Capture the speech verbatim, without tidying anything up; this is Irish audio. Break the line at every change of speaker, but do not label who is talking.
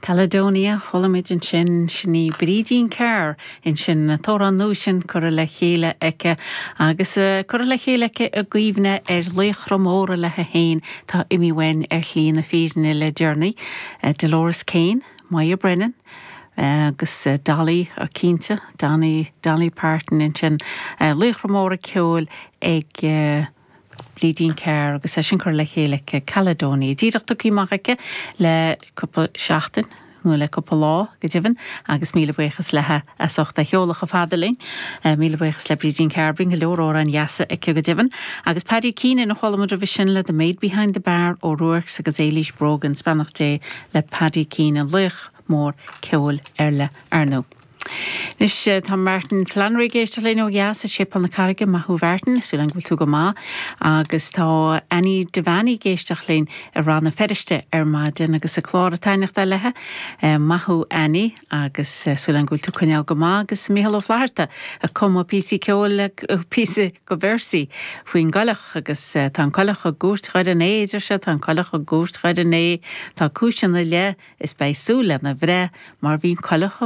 Caledonia chuala muid ansin sin í Brídín Carr ansin an t-amhrán nua sin curtha le chéile aici agus uh, curtha le chéile aici i gcuimhne ar laochra móra léi féin tá imithe uainn ar shlí na fírinne le deireanaí uh, Dolores Kane, Moya Brennan, agus uh, Dolly ar cinnte Donny Dolly Parton ansin uh, laochra móra ceoil ag uh, Brídín Carr agus é sin curtha le chéile Caledonia. Díreach tugtha amach aici le cúpla seachtain nó le cúpla lá go deimhin agus míle buíochas léi as ucht a sheoladh chomh fada linn. Míle buíochas le Brídín Carr bíonn go leor amhráin dheasa aici go deimhin, agus Paddy Keenan a chuala muid roimhe sin le The Maid Behind the Bar ó Ruaircs agus Éilís Brogan beannacht Dé le Paddy Keenan laoch mór ceoil ar le arnó. Anois tá Martin Flannery ag éisteacht linn ó dheas i Séipéal na Carraige maith thú Martin súil agam go bhfuil tú go maith agus tá Annie Devaney ag éisteacht linn i Rann na Feirste ar maidin agus an clár ag taitneamh léi maith thú Annie agus súil agam go bhfuil tú coinneáil go maith agus Mícheál Ó Flatharta ag cumadh píosa ceoil píosa go véarsaí faoin gcoileach agus tá an coileach i gcúirt Dhoire an Né deir sé tá an coileach i gcúirt Dhoire an Né tá cúis ina leith is beidh súil lena bhreith mar bhí coileach